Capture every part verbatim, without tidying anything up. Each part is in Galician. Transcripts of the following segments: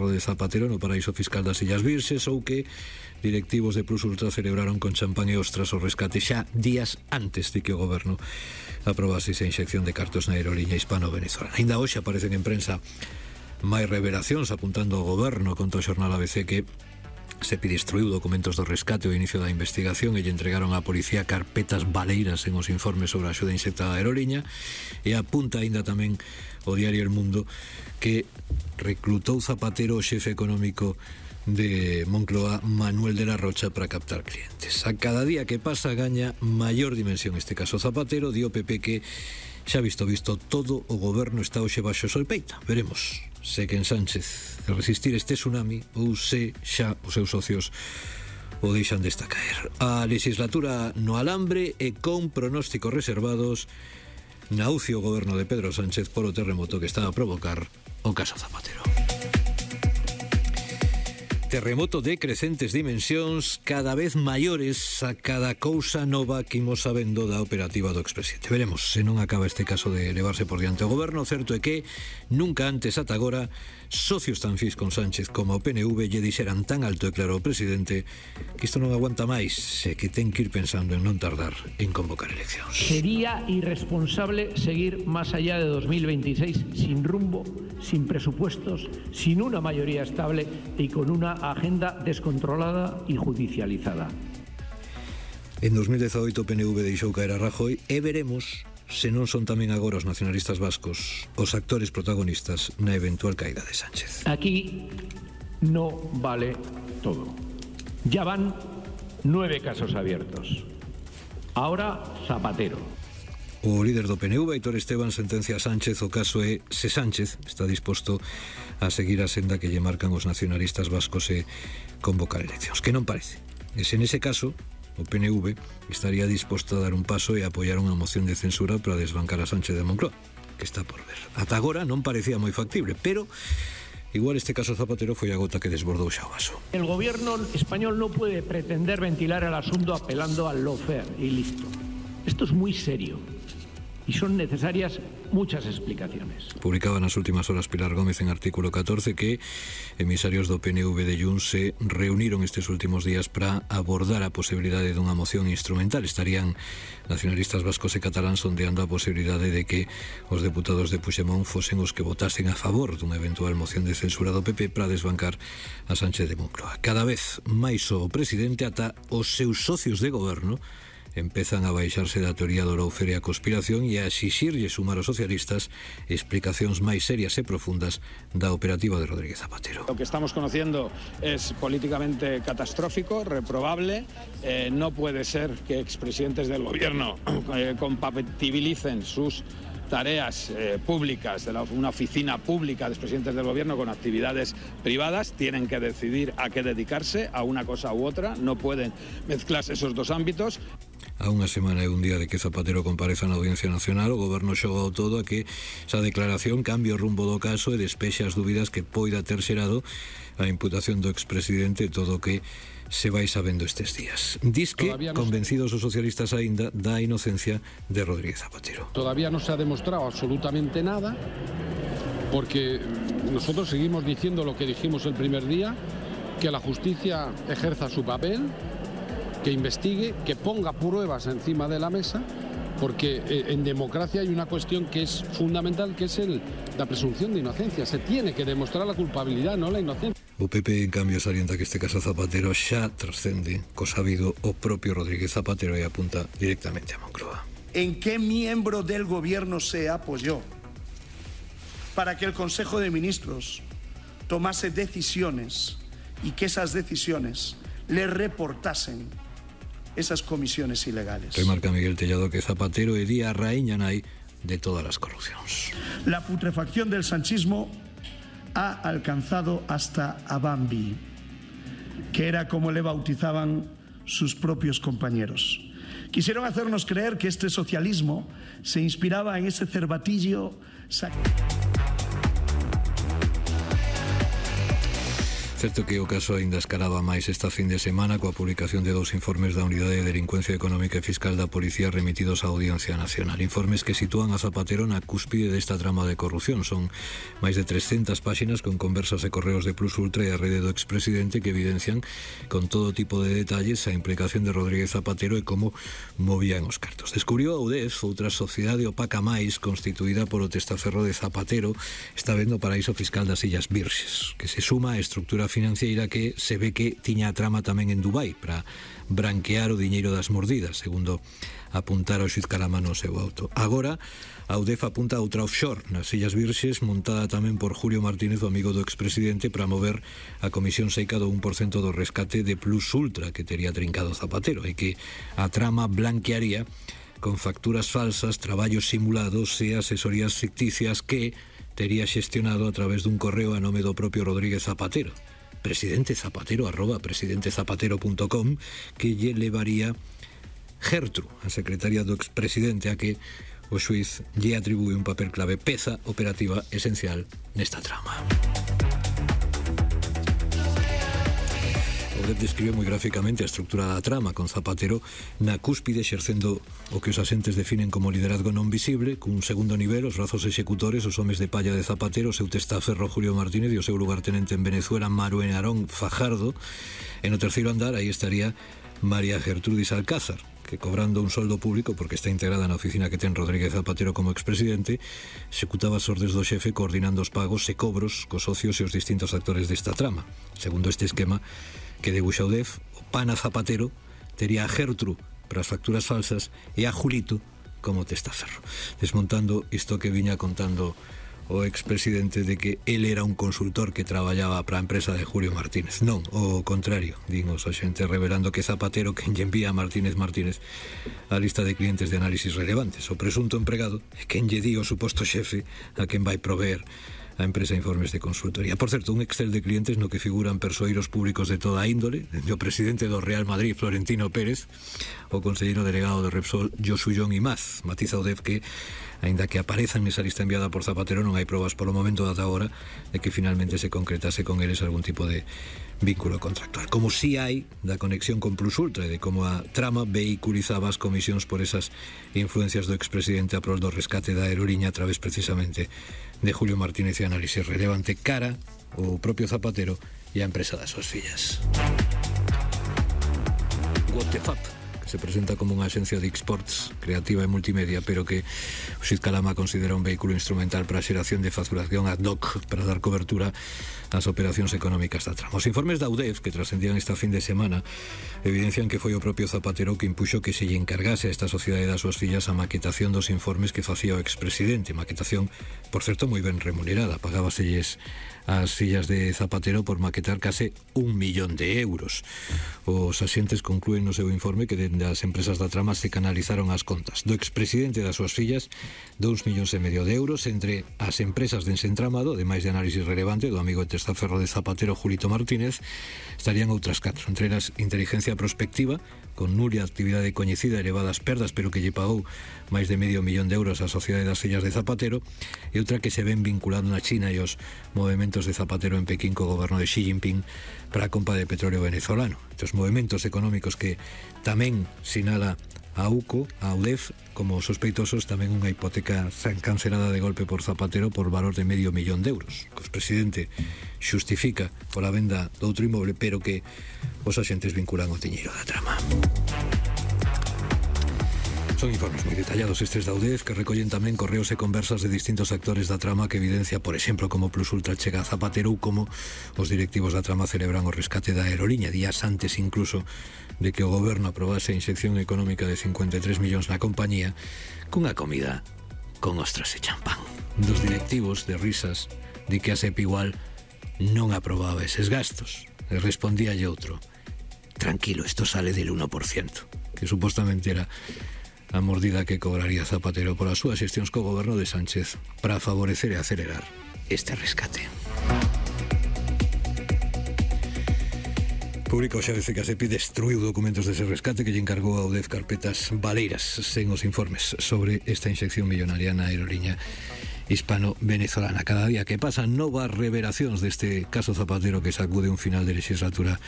erro de Zapatero no paraíso fiscal das Illas Virxes, ou que directivos de Plus Ultra celebraron con champán e ostras o rescate xa días antes de que o goberno aprobase esa inyección de cartos na aeroliña hispano-venezolana. Ainda hoxe aparecen en prensa máis revelacións apuntando ao goberno contra o xornal A B C que se destruiu documentos do rescate ao inicio da investigación e lle entregaron á policía carpetas baleiras en os informes sobre a axuda insecta da aeroliña, e apunta aínda tamén o diario El Mundo que reclutou Zapatero o xefe económico de Moncloa, Manuel de la Rocha, para captar clientes. A cada día que pasa gaña maior dimensión este caso Zapatero. Di o P P que xa visto visto todo o goberno está hoxe baixo solpeita. Veremos se que en Sánchez de resistir este tsunami ou se xa os seus socios o deixan desta caer. A legislatura no alambre e con pronósticos reservados naucio o goberno de Pedro Sánchez por o terremoto que está a provocar o caso Zapatero. Terremoto de crecentes dimensións, cada vez maiores a cada cousa nova que imos sabendo da operativa do expresidente. Veremos se non acaba este caso de elevarse por diante o goberno. Certo é que nunca antes ata agora socios tan fis con Sánchez como o P N V lle dixeran tan alto e claro ao presidente que isto non aguanta máis e que ten que ir pensando en non tardar en convocar eleccións. Sería irresponsable seguir más allá de dos mil veintiséis sin rumbo, sin presupuestos, sin una mayoría estable y con una agenda descontrolada y judicializada. En dos mil dezaoito o P N V deixou caer a Rajoy e veremos se non son tamén agora os nacionalistas vascos os actores protagonistas na eventual caída de Sánchez. Aquí no vale todo. Ya van nueve casos abiertos. Ahora Zapatero. O líder do P N V, Aitor Esteban, sentencia a Sánchez. O caso é se Sánchez está disposto a seguir a senda que lle marcan os nacionalistas vascos e convocar eleccións, que non parece. E se nese caso o P N V estaría disposto a dar un paso e a apoiar unha moción de censura para desbancar a Sánchez de Moncloa, que está por ver. Ata agora non parecía moi factible, pero igual este caso Zapatero foi a gota que desbordou xa o vaso. El gobierno español no puede pretender ventilar el asunto apelando al lawfare y listo. Esto es muy serio y son necesarias muchas explicaciones. Publicaba nas últimas horas Pilar Gómez en artículo catorce que emisarios do P N V de Junts se reuniron estes últimos días para abordar a posibilidade dunha moción instrumental. Estarían nacionalistas vascos e cataláns sondeando a posibilidade de que os deputados de Puigdemont fosen os que votasen a favor dunha eventual moción de censura do P P para desbancar a Sánchez de Moncloa. Cada vez máis o presidente ata os seus socios de goberno empezan a baixarse da teoría do lawfare e a conspiración e a exixirlle sumar aos socialistas explicacións máis serias e profundas da operativa de Rodríguez Zapatero. Lo que estamos conociendo es políticamente catastrófico, reprobable. Eh, no puede ser que expresidentes del gobierno eh, compatibilicen sus tareas eh, públicas de la, una oficina pública de expresidentes del gobierno con actividades privadas. Tienen que decidir a qué dedicarse, a una cosa u otra. No pueden mezclarse esos dos ámbitos. A unha semana e un día de que Zapatero compareza na Audiencia Nacional, o goberno xogou todo a que esa declaración cambie o rumbo do caso e despexe as dúbidas que poida ter xerado a imputación do expresidente, todo o que se vai sabendo estes días. Diz que, no... convencidos os socialistas aínda da inocencia de Rodríguez Zapatero. Todavía no se ha demostrado absolutamente nada, porque nosotros seguimos diciendo lo que dijimos el primer día, que la justicia ejerza su papel, que investigue, que ponga pruebas encima de la mesa, porque en democracia hay una cuestión que es fundamental, que es el, la presunción de inocencia. Se tiene que demostrar la culpabilidad, no la inocencia. O P P, en cambio, salienta que este caso Zapatero xa trascende co sabido o propio Rodríguez Zapatero e apunta directamente a Moncloa. ¿En qué miembro del gobierno se apoyó para que el Consejo de Ministros tomase decisiones y que esas decisiones le reportasen esas comisiones ilegales? Remarca Miguel Tellado que Zapatero é día raíña nai de todas as corrupcións. La putrefacción del sanchismo ha alcanzado hasta a Bambi, que era como le bautizaban sus propios compañeros. Quisieron hacernos creer que este socialismo se inspiraba en ese cervatillo. Certo que o caso aínda escalaba máis esta fin de semana coa publicación de dous informes da Unidade de Delincuencia Económica e Fiscal da Policía remitidos á Audiencia Nacional. Informes que sitúan a Zapatero na cúspide desta trama de corrupción. Son máis de trescentas páxinas con conversas e correos de Plus Ultra e a rede do expresidente que evidencian con todo tipo de detalles a implicación de Rodríguez Zapatero e como movían os cartos. Descubriu a UDEF, outra sociedade opaca máis constituída por o testaferro de Zapatero, está vendo o paraíso fiscal das Illas Virxes, que se suma á estructura financiera que se ve que tiña a trama tamén en Dubai para branquear o diñeiro das mordidas, segundo apuntara o xuiz Calamá no seu auto. Agora, a UDEF apunta a outra offshore nas Illas Virxes, montada tamén por Julio Martínez, o amigo do expresidente, para mover a comisión seica do un por cento do rescate de Plus Ultra que tería trincado Zapatero e que a trama blanquearía con facturas falsas, traballos simulados e asesorías ficticias que tería xestionado a través dun correo a nome do propio Rodríguez Zapatero, presidente Zapatero arroba presidente zapatero punto com, que lle levaría Gertru, a secretaria do expresidente, a que o xuiz lle atribúe un papel clave, peza operativa esencial nesta trama. O D E F describe moi gráficamente a estructura da trama, con Zapatero na cúspide exercendo o que os asentes definen como liderazgo non visible, cun segundo nivel, os brazos executores, os homes de palla de Zapatero, o seu testaferro Julio Martínez e o seu lugartenente en Venezuela, Maruén Arón Fajardo. E no terceiro andar, aí estaría María Gertrudis Alcázar, que cobrando un soldo público porque está integrada na oficina que ten Rodríguez Zapatero como expresidente, executaba as ordes do xefe coordinando os pagos e cobros cos socios e os distintos actores desta trama. Segundo este esquema que debuxa o D E F, o pana Zapatero tería a Gertru para as facturas falsas e a Julito como testaferro, desmontando isto que viña contando o expresidente de que él era un consultor que traballaba para a empresa de Julio Martínez. Non, o contrario, din os axentes, revelando que Zapatero quen lle envía a Martínez Martínez a lista de clientes de análisis relevantes. O presunto empregado é quen lle di o suposto xefe a quen vai proveer a empresa informes de consultoría. Por certo, un Excel de clientes no que figuran persoeiros públicos de toda índole, desde o presidente do Real Madrid, Florentino Pérez, o conselleiro delegado de Repsol, Josullón Imaz. Matiza o D E F que, aínda que aparezan nesa lista enviada por Zapatero, non hai probas polo momento data agora de que finalmente se concretase con eles algún tipo de vínculo contractual. Como si hai da conexión con Plus Ultra e de como a trama vehiculizaba as comisións por esas influencias do expresidente a prol do rescate da aeroliña a través precisamente de Julio Martínez e análisis relevante cara o propio Zapatero e a empresa das súas fillas. What the fuck? Se presenta como unha axencia de exports creativa e multimedia, pero que o xuiz Calamá considera un vehículo instrumental para a xeración de facturación ad hoc para dar cobertura ás operacións económicas da trama. Os informes da U D E F que trascendían esta fin de semana evidencian que foi o propio Zapatero que impuxo que se lle encargase a esta sociedade das súas fillas a maquetación dos informes que facía o expresidente, maquetación, por certo, moi ben remunerada. Pagábaselles as fillas de Zapatero por maquetar case un millón de euros. Os axentes conclúen no seu informe que dende as empresas da trama se canalizaron as contas do expresidente e das súas fillas dous millóns e medio de euros entre as empresas de ensentramado, ademais de análisis relevante do amigo e testaferro de Zapatero, Julito Martínez. Estarían outras catro, entre elas inteligencia prospectiva, con nulla actividade coñecida e elevadas perdas, pero que lle pagou máis de medio millón de euros á sociedade das fillas de Zapatero, e outra que se ven vinculando na China e os movementos de Zapatero en Pekín co goberno de Xi Jinping para a compra de petróleo venezolano. Estes movementos económicos que tamén sinala a U C O, a U D E F, como sospeitosos, tamén unha hipoteca cancelada de golpe por Zapatero por valor de medio millón de euros, que o presidente xustifica pola venda do outro inmoble, pero que os axentes vinculan o tiñeiro da trama. Son informes moi detallados estes da U D E F que recollen tamén correos e conversas de distintos actores da trama que evidencia, por exemplo, como Plus Ultra chega a Zapatero ou como os directivos da trama celebran o rescate da aeroliña, días antes incluso de que o goberno aprobase a inxección económica de cincuenta e tres millóns na compañía cunha comida con ostras e champán. Dos directivos de risas de que a S E P igual non aprobaba eses gastos. E respondíalle outro: tranquilo, esto sale del uno por ciento, que supostamente era a mordida que cobraría Zapatero polas súas xestións co goberno de Sánchez para favorecer e acelerar este rescate. Público xa dice que a S E P I destruiu documentos dese rescate que lle encargou a U D E F carpetas baleiras sen os informes sobre esta inxección millonaria na aeroliña hispano-venezolana. Cada día que pasa, novas revelacións deste caso Zapatero que sacude un final de legislatura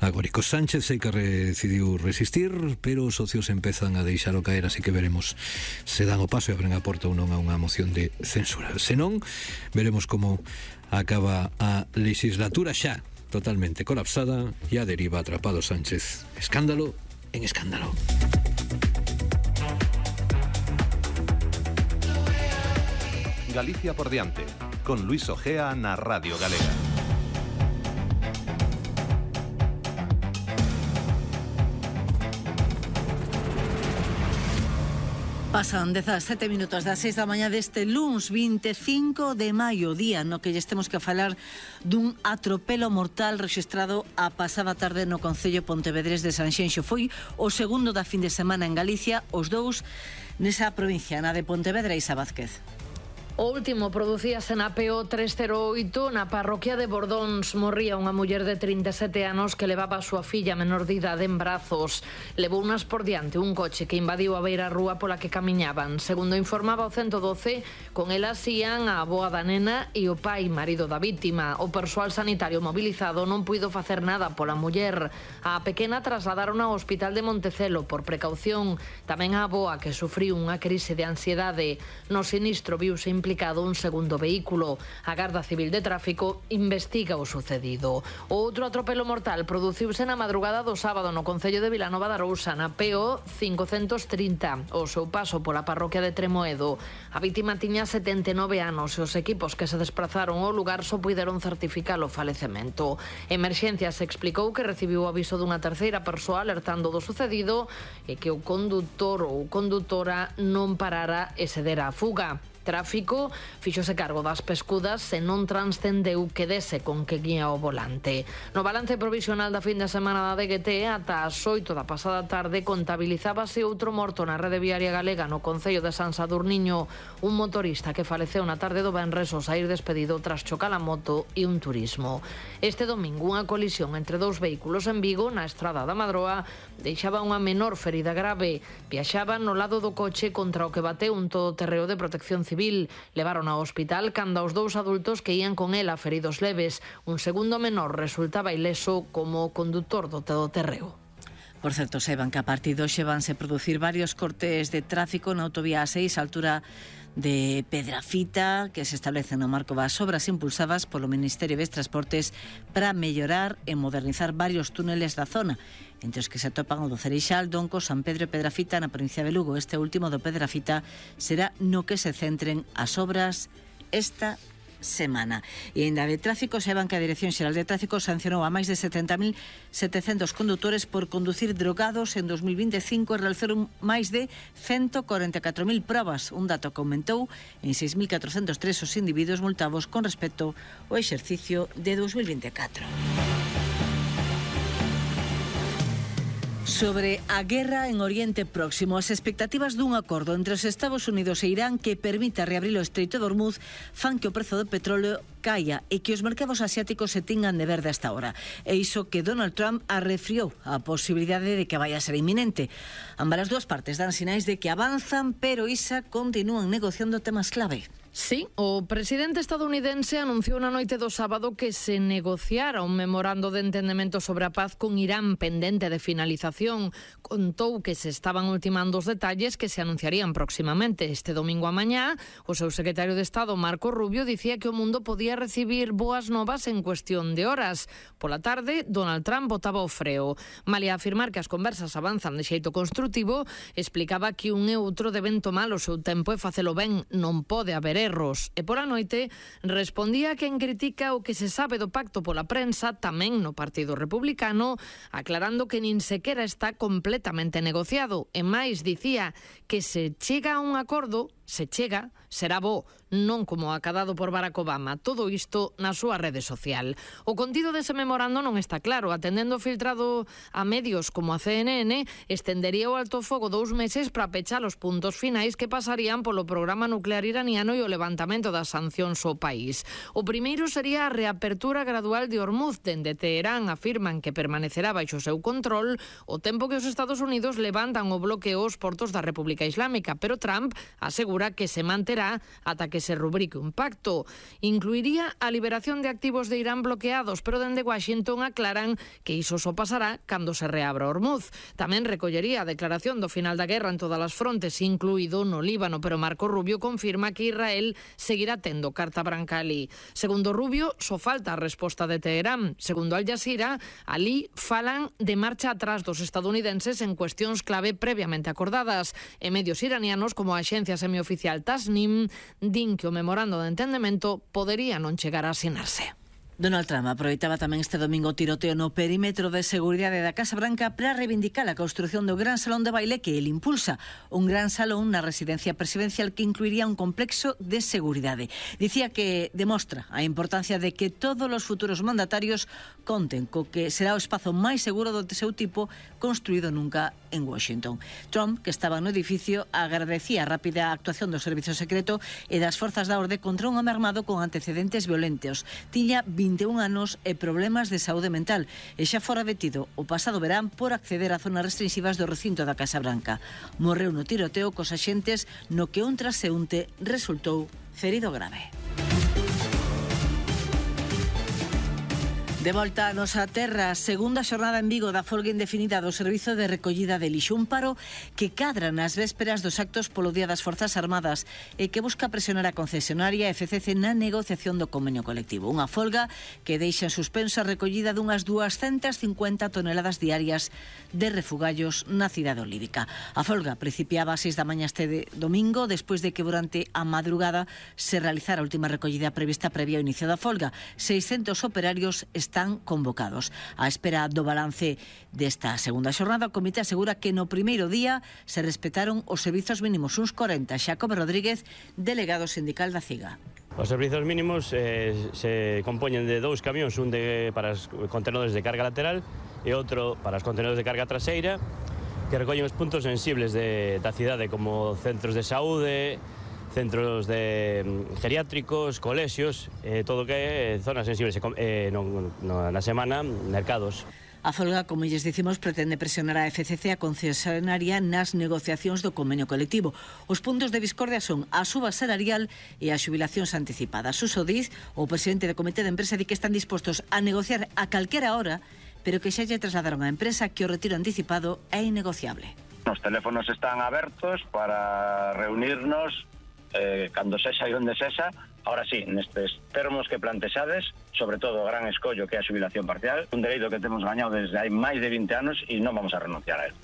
agórico. Sánchez sei que decidiu resistir, pero os socios empezan a deixalo caer, así que veremos se dan o paso e abren a porta ou non a unha moción de censura. Se non, veremos como acaba a legislatura xa totalmente colapsada e a deriva atrapado Sánchez. Escándalo en escándalo. Galicia por diante, con Luis Ojea na Radio Galega. Pasan dezasete minutos das seis da mañá deste luns veinticinco de maio, día no que lle temos que falar dun atropelo mortal rexistrado a pasada tarde no concello pontevedrés de Sanxenxo. Foi o segundo da fin de semana en Galicia, os dous nesa provincia, na de Pontevedra. Isa Vázquez. O último producíase na P O trescentos oito na parroquia de Bordóns. Morría unha muller de trinta e sete anos que levaba a súa filla menor de idade en brazos. Levou unas por diante un coche que invadiu a beira rúa pola que camiñaban. Segundo informaba o ciento doce, con elas ían a avoa da nena e o pai, marido da vítima. O persoal sanitario mobilizado non puido facer nada pola muller. A pequena trasladaron ao hospital de Montecelo por precaución. Tamén a avoa, que sufriu unha crise de ansiedade. No sinistro viuse implicado un segundo vehículo. A Garda Civil de Tráfico investiga o sucedido. O outro atropelo mortal produciuse na madrugada do sábado no concello de Vilanova da Arousa, na P O cincocentos trinta, o seu paso pola parroquia de Tremoedo. A vítima tiña setenta e nove anos e os equipos que se desprazaron ao lugar só puideron certificar o falecemento. Emerxencias explicou que recibiu o aviso dunha terceira persoa alertando do sucedido e que o condutor ou condutora non parara e se dera a fuga. Tráfico fíxose cargo das pescudas e non transcendeu que dese con que guía o volante. No balance provisional da fin de semana da D G T, ata as oito da pasada tarde contabilizábase outro morto na rede viaria galega no concello de San Sadurniño, un motorista que faleceu na tarde do venres ao saír despedido tras chocar a moto e un turismo. Este domingo unha colisión entre dous vehículos en Vigo na estrada da Madroa deixaba unha menor ferida grave. Viaxaban no lado do coche contra o que bateu un todoterreo de protección civil. Levaron ao hospital cando os dous adultos que ían con ela feridos leves. Un segundo menor resultaba ileso como o condutor do todoterreo. Por certo, saiban que a partir de hoxe vanse producir varios cortes de tráfico na autovía A seis, a altura de Pedrafita, que se establece no marco das obras impulsadas polo Ministerio de Transportes para mellorar e modernizar varios túneles da zona, entre os que se atopan o do Cereixal, Donco, San Pedro e Pedrafita na provincia de Lugo. Este último do Pedrafita será no que se centren as obras esta semana. E ainda de tráfico, saiban que a Dirección Xeral de Tráfico sancionou a máis de setenta mil setecentos condutores por conducir drogados en dos mil veinticinco e realizaron máis de ciento cuarenta e catro mil probas, un dato que aumentou en seis mil catrocentos tres os individuos multados con respecto ao exercicio de dos mil veinticuatro. Sobre a guerra en Oriente Próximo, as expectativas dun acordo entre os Estados Unidos e Irán que permita reabrir o Estreito de Hormuz fan que o prezo do petróleo caia e que os mercados asiáticos se tingan de verde hasta ahora. E iso que Donald Trump arrefriou a posibilidade de que vaya a ser inminente. Ambas as dúas partes dan sinais de que avanzan, pero isa continúan negociando temas clave. Sí, o presidente estadounidense anunciou na noite do sábado que se negociara un memorando de entendemento sobre a paz con Irán pendente de finalización. Contou que se estaban ultimando os detalles que se anunciarían próximamente. Este domingo a mañá, o seu secretario de Estado, Marco Rubio, dicía que o mundo podía recibir boas novas en cuestión de horas. Pola tarde, Donald Trump botaba o freo. Malia afirmar que as conversas avanzan de xeito construtivo, explicaba que un e outro deben tomar o seu tempo e facelo ben, non pode haber erros. E pola noite respondía a quen critica o que se sabe do pacto pola prensa tamén no Partido Republicano, aclarando que nin sequera está completamente negociado. E máis, dicía que se chega a un acordo, se chega, será bo, non como acadado por Barack Obama. Todo isto na súa rede social. O contido dese memorando non está claro. Atendendo filtrado a medios como a C N N, estendería o alto fogo dous meses para pechar os puntos finais que pasarían polo programa nuclear iraniano e o o levantamento das sancións ao país. O primeiro sería a reapertura gradual de Hormuz. Dende Teherán afirman que permanecerá baixo seu control o tempo que os Estados Unidos levantan o bloqueo aos portos da República Islámica, pero Trump asegura que se manterá ata que se rubrique un pacto. Incluiría a liberación de activos de Irán bloqueados, pero dende Washington aclaran que iso só pasará cando se reabra Hormuz. Tamén recollería a declaración do final da guerra en todas as frontes, incluído no Líbano, pero Marco Rubio confirma que Israel seguirá tendo carta branca alí. Segundo Rubio, só falta a resposta de Teherán. Segundo Al Jazeera, alí falan de marcha atrás dos estadounidenses en cuestións clave previamente acordadas. E medios iranianos, como a axencia semioficial Tasnim, din que o memorando de entendemento podería non chegar a asinarse. Donald Trump aproveitaba tamén este domingo o tiroteo no perímetro de seguridade da Casa Branca para reivindicar a construción do gran salón de baile que el impulsa. Un gran salón na residencia presidencial que incluiría un complexo de seguridade. Dicía que demostra a importancia de que todos os futuros mandatarios conten co que será o espazo máis seguro do seu tipo construído nunca en Washington. Trump, que estaba no edificio, agradecía a rápida actuación do Servizo Secreto e das forzas da orde contra un home armado con antecedentes violentos. Tiña vinte e un anos e problemas de saúde mental e xa fora detido o pasado verán por acceder a zonas restrinxivas do recinto da Casa Branca. Morreu no tiroteo cos axentes no que un transeúnte resultou ferido grave. De volta a nosa terra, segunda xornada en Vigo da folga indefinida do Servizo de Recollida de Lixo, un paro que cadra nas vésperas dos actos polo Día das Forzas Armadas e que busca presionar a concesionaria F C C na negociación do convenio colectivo. Unha folga que deixa en suspenso a recollida dunhas duascentas cincuenta toneladas diarias de refugallos na cidade olívica. A folga principiaba ás seis da mañá este de domingo, despois de que durante a madrugada se realizara a última recollida prevista previa ao inicio da folga. seiscentos operarios están están convocados. A espera do balance desta segunda xornada, o comité asegura que no primeiro día se respetaron os servizos mínimos, uns corenta. Xacobe Rodríguez, delegado sindical da CIGA. Os servizos mínimos eh, se compoñen de dous camións, un de, para os contenedores de carga lateral e outro para os contenedores de carga traseira, que recollen os puntos sensibles de, da cidade, como centros de saúde, centros de geriátricos, colexios, eh, todo que é zonas sensibles, eh, no, no, na semana, mercados. A folga, como lles dicimos, pretende presionar a F C C a concesionaria nas negociacións do convenio colectivo. Os puntos de discordia son a suba salarial e as xubilacións anticipadas. Suso Diz, o presidente do comité de empresa, di que están dispostos a negociar a calquera hora, pero que xa lle trasladaron á empresa que o retiro anticipado é innegociable. Os teléfonos están abertos para reunirnos eh, cando sexa e onde sexa. Ahora sí, nestes termos que plantexades, sobre todo o gran escollo que é a xubilación parcial, un dereito que temos gañado desde hai máis de vinte anos e non vamos a renunciar a él.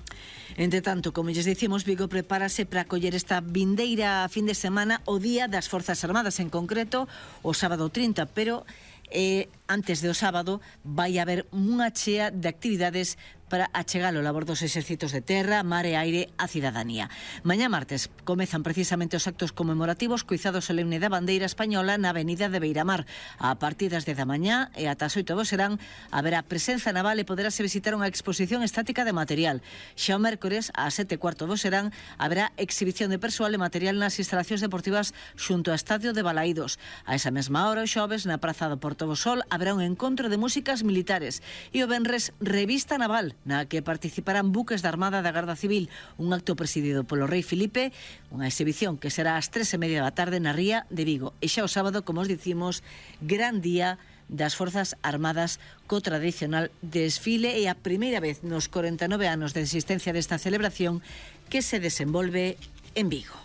Entre tanto, como lles dicimos, Vigo prepárase para acoller esta vindeira fin de semana o Día das Forzas Armadas, en concreto o sábado trinta, pero eh, antes do sábado vai haber unha chea de actividades para achegar o labor dos exércitos de terra, mar e aire á cidadanía. Mañá martes comezan precisamente os actos conmemorativos co izado solemne da bandeira española na avenida de Beiramar. A partir das dez da mañá e ata as oito do serán haberá presenza naval e poderase visitar unha exposición estática de material. Xa o mércores, ás sete e cuarto do serán, haberá exhibición de persoal e material nas instalacións deportivas xunto ao estadio de Balaídos. A esa mesma hora, o xoves, na praza do Porto do Sol, haberá un encontro de músicas militares e o venres revista naval, na que participarán buques da Armada da Garda Civil, un acto presidido polo rei Filipe, unha exhibición que será ás tres e media da tarde na Ría de Vigo. E xa o sábado, como os dicimos, gran día das Forzas Armadas co tradicional desfile e a primeira vez nos corenta e nove anos de existencia desta celebración que se desenvolve en Vigo.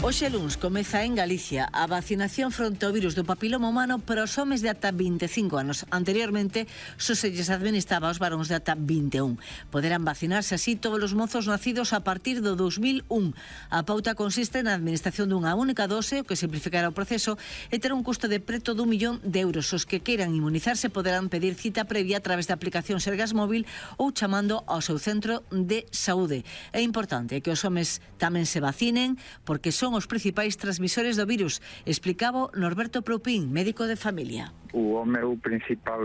Hoxe luns comeza en Galicia a vacinación fronte ao virus do papiloma humano para os homes de ata vinte e cinco anos. Anteriormente, só se lles administraba aos varóns de ata vinte e un. Poderán vacinarse así todos os mozos nacidos a partir do dos mil un. A pauta consiste na administración dunha única dose, o que simplificará o proceso, e terá un custo de preto dun millón de euros. Os que queiran inmunizarse poderán pedir cita previa a través da aplicación Sergas Móvil ou chamando ao seu centro de saúde. É importante que os homes tamén se vacinen porque son os principais transmisores do virus, explicaba Norberto Proupín, médico de familia. O home é o principal,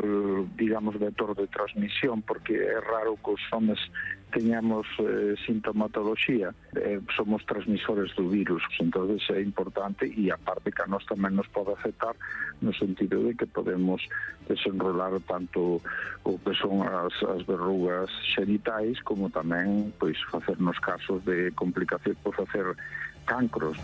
digamos, vector de transmisión, porque é raro que os homes teñamos eh, sintomatoloxía, eh, somos transmisores do virus, entonces é importante, e aparte que a nós tamén nos pode afectar no sentido de que podemos desenrolar tanto o que son as, as verrugas xenitais como tamén pois facernos casos de complicación por facer cancros.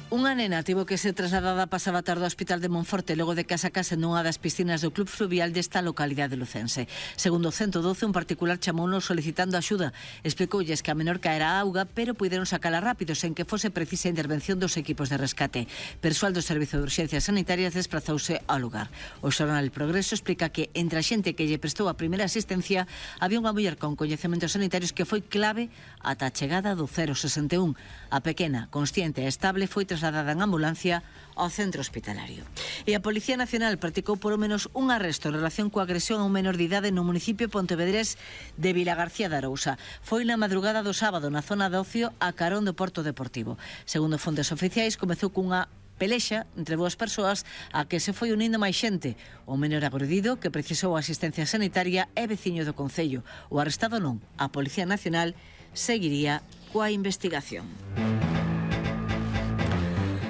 Unha nena tivo que ser trasladada pasaba tarde ao Hospital de Monforte logo de que a sacase nunha das piscinas do Club Fluvial desta localidade lucense. Segundo o ciento doce, un particular chamounos solicitando axuda. Explicoulles que a menor caera a auga, pero puideron sacala rápido sen que fose precisa a intervención dos equipos de rescate. Persoal do Servizo de Urxencias Sanitarias desprazouse ao lugar. O xornal El Progreso explica que entre a xente que lle prestou a primeira asistencia había unha muller con coñecementos sanitarios que foi clave ata a chegada do cero sesenta e un. A pequena, consciente e estable, foi trasladada en ambulancia ao centro hospitalario. E a Policía Nacional practicou por o menos un arresto en relación coa agresión a un menor de idade no municipio pontevedrés de Vilagarcía de Arousa. Foi na madrugada do sábado na zona de ocio a carón do Porto Deportivo. Segundo fontes oficiais, comezou cunha pelexa entre dúas persoas a que se foi unindo máis xente. O menor agredido, que precisou asistencia sanitaria, é veciño do concello. O arrestado non. A Policía Nacional seguiría coa investigación.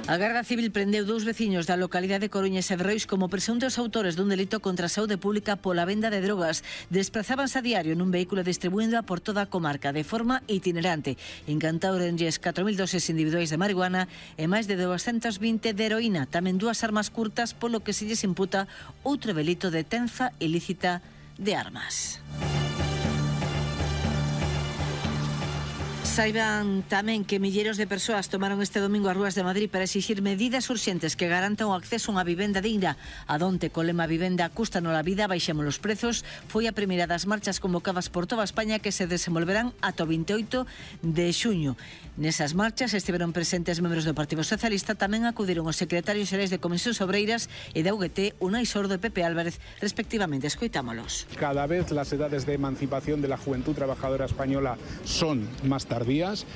A Garda Civil prendeu dous veciños da localidade de Coruña e Severrois como presuntos autores dun delito contra a saúde pública pola venda de drogas. Desprazábanse a diario nun vehículo distribuíndoa por toda a comarca de forma itinerante. Incantaurenlles catro mil doses individuais de marihuana e máis de doscientos vinte de heroína, tamén dúas armas curtas, polo que se lles imputa outro delito de tenza ilícita de armas. Saiban tamén que milleiros de persoas tomaron este domingo as rúas de Madrid para exixir medidas urxentes que garantan o acceso a unha vivenda digna. A donte co lema vivenda cústanos a vida, baixemos os prezos, foi a primeira das marchas convocadas por toda España que se desenvolverán ata o vinte e oito de xuño. Nesas marchas estiveron presentes membros do Partido Socialista, tamén acudiron os secretarios xerais de Comisións Obreiras e da U G T, Unai Sordo e Pepe Álvarez, respectivamente. Escoitámolos. Cada vez las edades de emancipación de la juventud trabajadora española son más tardías.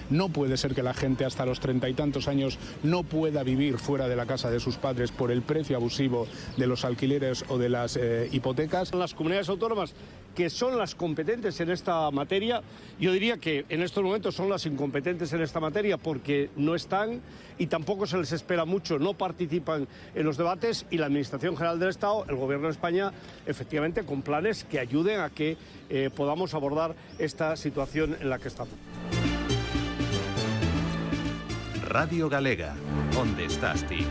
No puede ser que la gente hasta los treinta y tantos años no pueda vivir fuera de la casa de sus padres por el precio abusivo de los alquileres o de las eh, hipotecas. Las comunidades autónomas que son las competentes en esta materia, yo diría que en estos momentos son las incompetentes en esta materia porque no están y tampoco se les espera mucho, no participan en los debates, y la Administración General del Estado, el Gobierno de España, efectivamente con planes que ayuden a que eh, podamos abordar esta situación en la que estamos. Radio Galega, onde estás ti?